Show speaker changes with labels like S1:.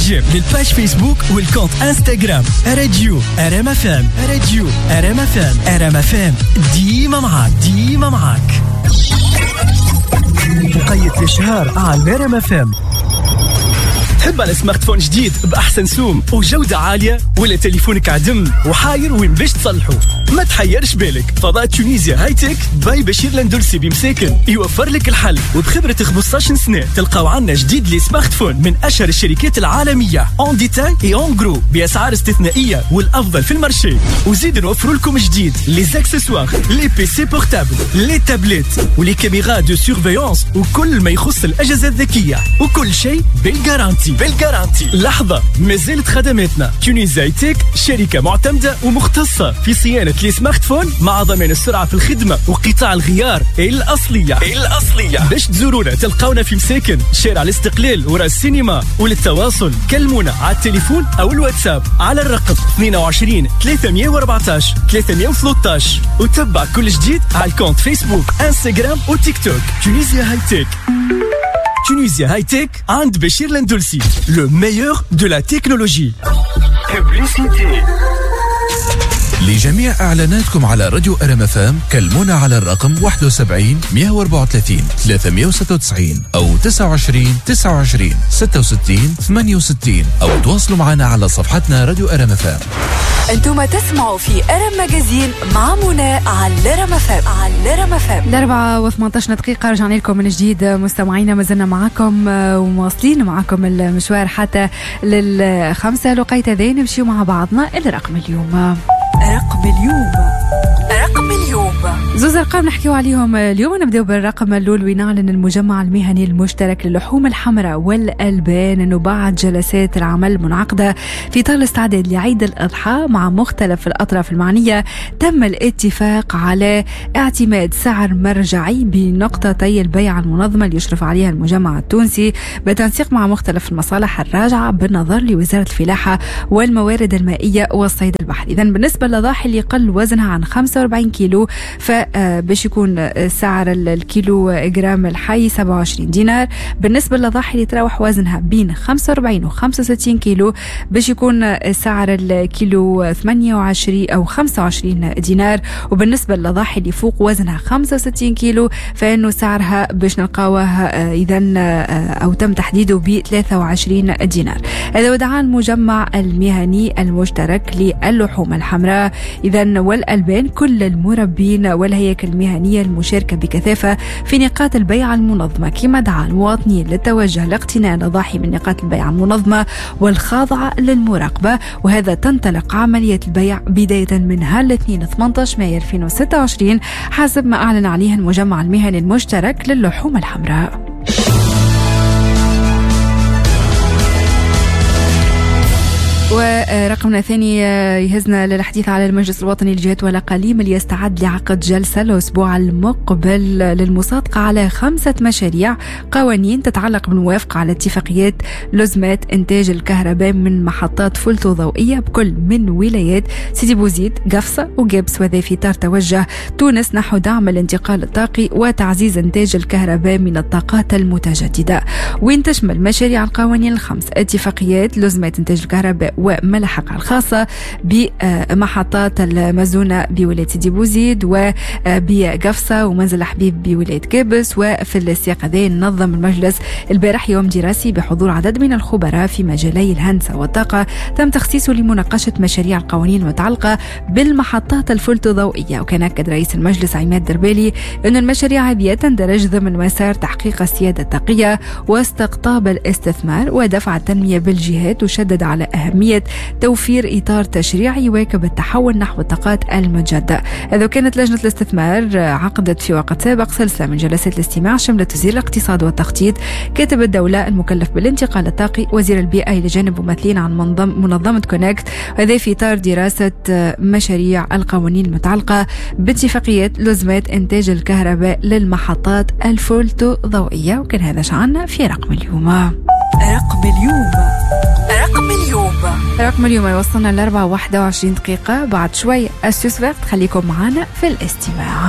S1: j'aime لل page Facebook وال compte Instagram راديو ار ام اف ام، راديو ار ام اف ام، ار ام اف ام ديما معاك، ديما معاك. وقيت الاشهار على ار ام اف ام. تحب على smartphone جديد بأحسن سوم وجودة عالية، ولا تليفونك عدم وحاير وين باش تصلحه؟ ما تحيرش بالك، فضاء Tunisia High-Tech by بشير لندلسي بمساكن يوفر لك الحل، وبخبرة 15 سنة تلقاو عنا جديد les smartphones من أشهر الشركات العالمية en détail et en gros بأسعار استثنائية والأفضل في ال marché. وزيد نوفر لكم جديد les accessoires، les PC portables، les tablettes و les caméras de surveillance وكل ما يخص الأجهزة الذكية، وكل شيء بال garantie. بال garantie. لحظة، ما زالت خدماتنا Tunisia High-Tech شركة معتمدة ومختصة في صيانة les smartphones مع ضمان السرعة في الخدمة وقطاع الغيار الأصلية. الأصلية. باش تزورونا تلقاونا في مساكن شارع الاستقلال وراء السينما، وللتواصل كلمونا على التليفون أو الواتساب على الرقم 22 314 313، وتبع كل جديد على ال compte Facebook، Instagram وتيك توك Tunisia High-Tech. Tunisia High-Tech عند بشير لندلسي، le meilleur de la technologie.
S2: Publicité.
S3: لجميع إعلاناتكم على راديو ار ام اف ام كلمونا على الرقم 71 134 396 أو 29 29 66 68، أو تواصلوا معنا على صفحتنا راديو ار ام اف ام.
S4: انتم تسمعوا في ار ام Magazine مع منى على ار ام اف ام، على ار ام اف ام.
S5: 4:18 رجعنا لكم من جديد مستمعينا، ما زلنا معكم ومواصلين معكم المشوار حتى للخمسة. لقيت ذي نمشيو مع بعضنا إلى رقم اليوم.
S4: رقم اليوم، رقم اليوم.
S5: زوز أرقام نحكيو عليهم اليوم. نبداو بالرقم الأول، وينعلن المجمع المهني المشترك للحوم الحمراء والألبان أنه بعد جلسات العمل المنعقدة في إطار الاستعداد لعيد الأضحى مع مختلف الأطراف المعنية تم الاتفاق على اعتماد سعر مرجعي بنقطتي البيع المنظمة اللي يشرف عليها المجمع التونسي بتنسيق مع مختلف المصالح الراجعة بالنظر لوزارة الفلاحة والموارد المائية والصيد البحري. إذن بالنسبة للأضاحي اللي قل وزنها عن 45 كيلو فباش يكون سعر الكيلو جرام الحي 27 دينار. بالنسبة للأضاحي اللي تراوح وزنها بين 45 و 65 كيلو باش يكون سعر الكيلو 28 أو 25 دينار. وبالنسبة للأضاحي اللي فوق وزنها 65 كيلو فإنه سعرها باش نلقاوه إذن أو تم تحديده ب 23 دينار. هذا ودعا المجمع المهني المشترك للحوم الحمراء إذن والألبان كل المربين والهياكل المهنية المشاركة بكثافة في نقاط البيع المنظمة، كما دعا المواطنين للتوجه لاقتناء الأضاحي من نقاط البيع المنظمة والخاضعة للمراقبة، وهذا تنطلق عملية البيع بداية من الاثنين 18 مايو 2026 حسب ما أعلن عليه المجمع المهني المشترك للحوم الحمراء. ورقمنا الثاني يهزنا للحديث على المجلس الوطني للجهات والأقاليم اللي يستعد لعقد جلسة الأسبوع المقبل للمصادقة على 5 مشاريع قوانين تتعلق بالموافقة على اتفاقيات لزمات إنتاج الكهرباء من محطات فولتوضوئية بكل من ولايات سيدي بوزيد، قفصة وقابس، وذا في إطار توجه تونس نحو دعم الانتقال الطاقي وتعزيز إنتاج الكهرباء من الطاقات المتجددة. وين تشمل مشاريع القوانين الخمس اتفاقيات لزمات إنتاج الكهرباء وملحقة الخاصة بمحطات المزونة بولاية سيدي بوزيد وبقفصة ومنزل حبيب بولاية قابس. وفي السياق هذا نظم المجلس البارح يوم دراسي بحضور عدد من الخبراء في مجالي الهندسة والطاقة تم تخصيصه لمناقشة مشاريع القوانين المتعلقة بالمحطات الفولتوضوئية. وكان أكد رئيس المجلس عماد دربالي أن المشاريع هذه تندرج ضمن مسار تحقيق السيادة الطاقية واستقطاب الاستثمار ودفع التنمية بالجهات، وشدد على أهمية توفير إطار تشريعي يواكب التحول نحو الطاقات المتجددة. هذا كانت لجنة الاستثمار عقدت في وقت سابق سلسلة من جلسات الاستماع شملت وزير الاقتصاد والتخطيط، كاتب الدولة المكلف بالانتقال الطاقي، وزير البيئة، إلى جانب ممثلين عن منظمة كونكت، وهذا في إطار دراسة مشاريع القوانين المتعلقة باتفاقيات لزمات إنتاج الكهرباء للمحطات الفولتوضوئية. وكان هذا شعنا في رقم اليوم.
S4: رقم اليوم، رقم اليوم،
S5: رقم اليوم يوصلنا ل 4:21 بعد شوي. astuce verte، خليكم معنا في الاستماع.